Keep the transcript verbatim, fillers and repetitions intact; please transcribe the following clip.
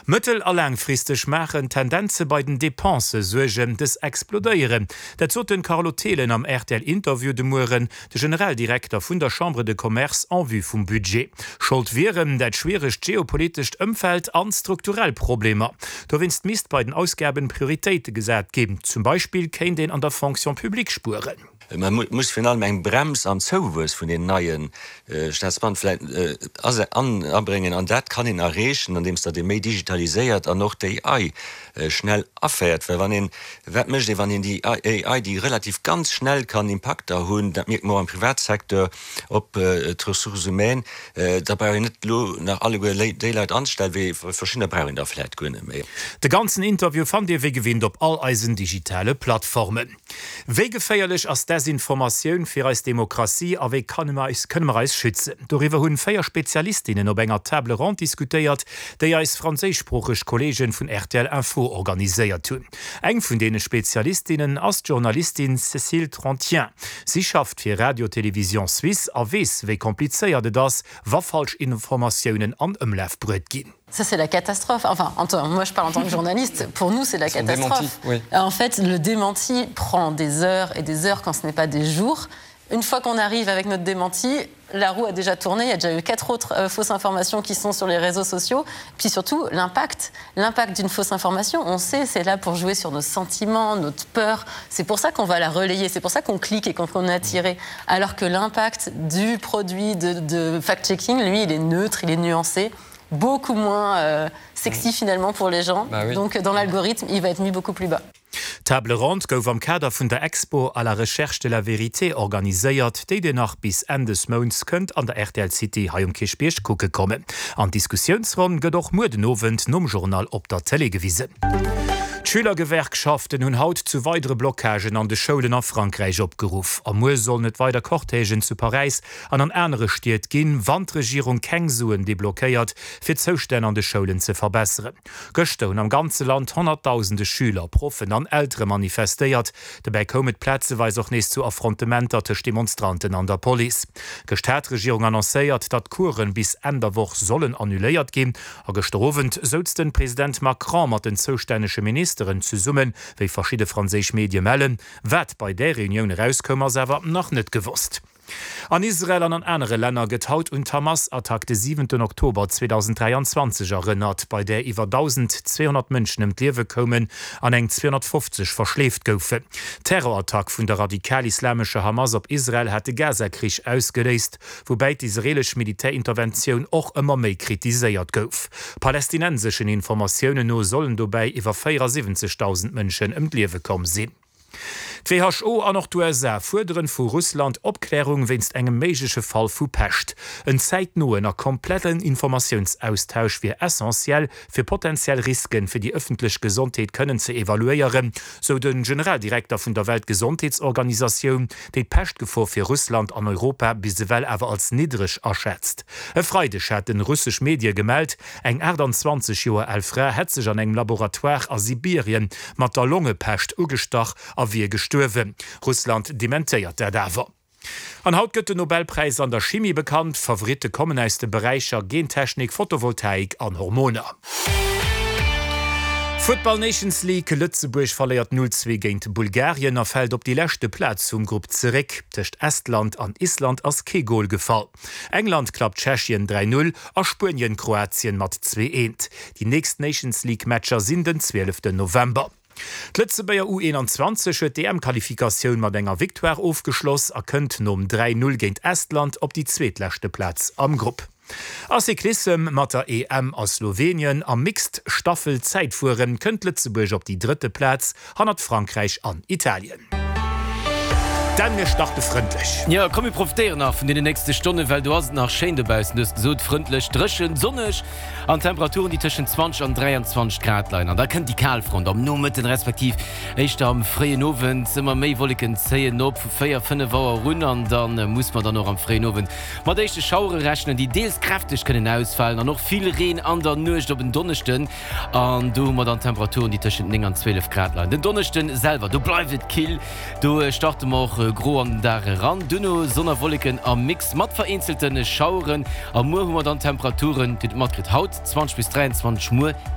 Mëttel a laangfristeg maachen d'Tendenze bei den Depensë Suergen, dës explodéieren. Dat sot den Carlo Thelen am R T L-Interview de Mueren, de Generaldirekter vun der Chambre de Commerce en vue vum Budget. Schold wieren dat schwieregt geopolitescht Ëmfeld an strukturell Problemer. Dowéinst misst bei den Ausgaben Prioritéite gesat ginn. Zum Beispill kéint een an der Fonction publique spueren. Man muss virun allem eng Brems am Zouwuess vun den neien äh, Staatsbeamten vläicht äh, an, anbréngen an dat kann een erreechen, andeems datt ee méi digitaliséiert an och d'A I äh, schnell aféiert, well wann een wat mécht wann een déi A I, déi relativ ganz schnell kann Impakter hunn, dat mierkt mer am Privatsecteur op äh, d'Ressources humaines äh, da brauch een net lo nach alleguer déi Leit anstellen, wéi verschiddener brauch een da vläicht guer net méi. De ganzen Interview fannt Dir wéi gewinnt op all eisen digitale Plattformen. Wéi geféierlech ass Desinformatioun fir eis Demokratie a wéi kënne mer eis, kënne mer eis schützen? Doriwwer hunn véier Spezialistinnen op enger Table ronde diskutéiert, déi eis franséischsproocheg Kolleegen vun R T L Info organiséiert hunn. Eng vun deene Spezialistinnen ass d'Journalistin Cécile Trentien. Si schafft fir Radio Télévision Suisse a weess, wéi komplizéiert et ass, wa falsch Informatiounen an Ëmlaf bruecht ginn. Ça, c'est la catastrophe. Enfin, en, moi, je parle en tant que journaliste. Pour nous, c'est la catastrophe. Démentis, oui. En fait, le démenti prend des heures et des heures quand ce n'est pas des jours. Une fois qu'on arrive avec notre démenti, la roue a déjà tourné, il y a déjà eu quatre autres euh, fausses informations qui sont sur les réseaux sociaux. Puis surtout, l'impact. L'impact d'une fausse information, on sait, c'est là pour jouer sur nos sentiments, notre peur. C'est pour ça qu'on va la relayer, c'est pour ça qu'on clique et qu'on est attiré. Alors que l'impact du produit de, de fact-checking, lui, il est neutre, il est nuancé, beaucoup moins euh, sexy finalement pour les gens. Bah oui. Donc dans l'algorithme, il va être mis beaucoup plus bas. Table ronde gouf am Kader vun der Expo à la recherche de la vérité organiséiert, déi Dir nach bis Enn des Mounts kënnt an der R T L City hei um Kierchbierg kucke kommen. An Diskussiounsronn gëtt och muer den Owend nom Journal op der Tele gewisen. D'Schülergewerkschaften hunn haut zu weidere Blockagen an de Schoulen a Frankräich opgeruff. A muer sollen et weider Cortègen zu Paräis an an anere Stied ginn, wann d'Regierung keng Suen deblockéiert, fir d'Zoustänn an de Schoulen ze verbesseren. Gëschter hunn am ganze Land honnertdausende Schüler, Proffen an Eltere manifestéiert. Dobäi koum et plazeweis och nees zu Affrontementer tëscht Demonstranten an der Police. Gëschter hat d'Regierung annoncéiert, datt d'Coursen bis Enn der Woch sollen annuléiert ginn. A gëschter Owend souz de President Macron mat den zoustännege Ministeren zesummen, wéi verschidde franséisch Medie mellen. Wat bei der Reunioun erauskoum, ass awer nach net gewosst. An Israel an an anere Länner gëtt haut un d'Hamas-Attack de siwenten Oktober zweedausenddräianzwanzeg erënnert, bei där iwwer dausendzweehonnert Mënschen ëm d'Liewe koumen an eng zweehonnertfofzeg verschleeft goufen. D'Terrorattack vun der radikal-islamescher Hamas op Israel hat de Gaza-Krich ausgeléist, woubäi d'israelesch Militärinterventioun och ëmmer méi kritiséiert gouf. Palästinenseschen Informatiounen no sollen dobäi iwwer véierasiwwenzegdausend Mënschen ëm d'Liewe komm sinn. D'W H O an och d'U S A fuerderen vu Russland Opklärung wéinst engem méigleche Fall vu Pescht. En zäitnoen a kompletten Informatiounsaustausch wier essentiell fir potentiell Risken fir déi ëffentlech Gesondheet kënnen ze evaluéieren, sou de Generaldirekter vun der Weltgesondheetsorganisatioun, déi d'Peschtgefor fir Russland an Europa bis ewell awer als niddreg aschätzt. E Freideg haten russesch Medie gemellt, eng aachtanzwanzeg Joer al Fra hätt sech an engem Laboratoire a Sibirien mat der Longepescht ugestach a wier gestuerwen. Russland dementéiert dat awer. An haut gëtt den Nobelpräis an der Chimie bekannt. Favoritte kommen aus de Beräicher Gentechnik, Photovoltaik an Hormoner. Futtball Nations League, Lëtzebuerg verléiert null zwee géint Bulgarien a fält op déi leschte Plaz vum Grupp zeréck. Tëscht Estland an Island ass kee Gol gefall. England klappt Tschechien dräi null a Spuenien Kroatien mat zwee eent. Déi nächst Nations League Matcher sinn den zwieleften November. D'Lëtzebuerger U eenanzwanzeg huet d'E M-Qualifikatioun mat enger Victoire ofgeschloss a kënnt nom dräi null géint Estland op déi zweetleschte Plaz am Grupp. A Cyclissem, Mat der E M a Slowenien am Mixed Staffel Zäitfueren kënnt Lëtzebuerg op déi drëtte Plaz hannert Frankräich an Italien. Dan, mir starte frëndlech. Jo, komm mir profitéieren nach vun deenen nächste Stonnen, well do ass et nach schéin dobaussen. Du hues gesot, frëndlech, dréchen, sonneg an Temperaturen, déi tëschent zwanzeg an dräianzwanzeg Grad leien. An da kënnt déi Kalfront am Nomëtten, respektiv éischter am fréien Owend. Ëmmer méi Wolleken zéien op vu véier, fënnef Auer un an da muss mer dann och am fréien Owend mat éischte Schauere rechnen, déi deels kräfteg kënnen ausfalen an och vill Reen an der Nuecht op en Donneschden. An do hu mer dann Temperaturen, déi tëschent néng an zwielef Grad leien. Den Donneschden selwer, do bleift et kill, do starte mer och gro an den Dag eran, duerno Sonn a Wolleken am Mix mat vereenzelte Schaueren. A muer hu mer dann Temperaturen, Dir hutt et matkritt, haut zwanzeg bis dräianzwanzeg, muer eelef.